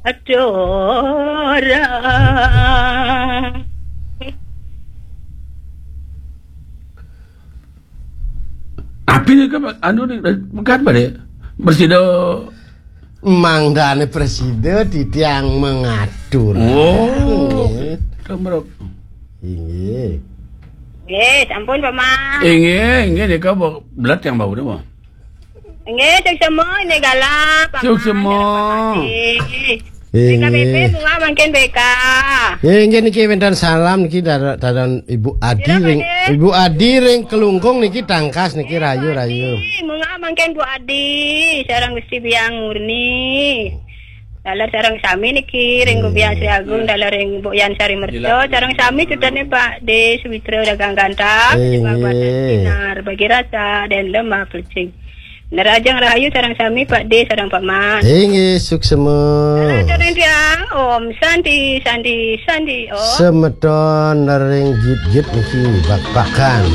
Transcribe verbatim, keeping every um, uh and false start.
Adora. Api ni kan anu ni, bukan balik. Presida. Mangdane presida titiang mengatur. Oh. Nggih. Kamrok. Inggih. Nggih, sampun Paman. Inggih, inggih nika belat yang bau nih. Nggih, suksma ini galak Paman. Suksma. Nggih. Inggih. K B P bunga mangkin B K. Nggih, inggih niki wenten salam niki dar- darang Ibu Adi Sira, ring Pak, Ibu Adi ring Kelungkung niki tangkas niki rayu rayu. Adi, munga mangkin Bu Adi, sareng Gusti Biang Murni. Dalar sareng sami niki ring Gubiang Sri Agung, dalar ring Bu Yan Sari Merto, sareng sami cutane Pak D Suwitra Dagang Gantap, Inggih. Bapak Sinar, Bagi Rasa dan Lemah Pelecing. Nerajang Rahayu sareng sami Pak D sareng Pak Man. Inggih suksma. Dalar sareng tiang, Om Santi, Santi, Santi, Om. Semeton nering git-git niki bak-bakan.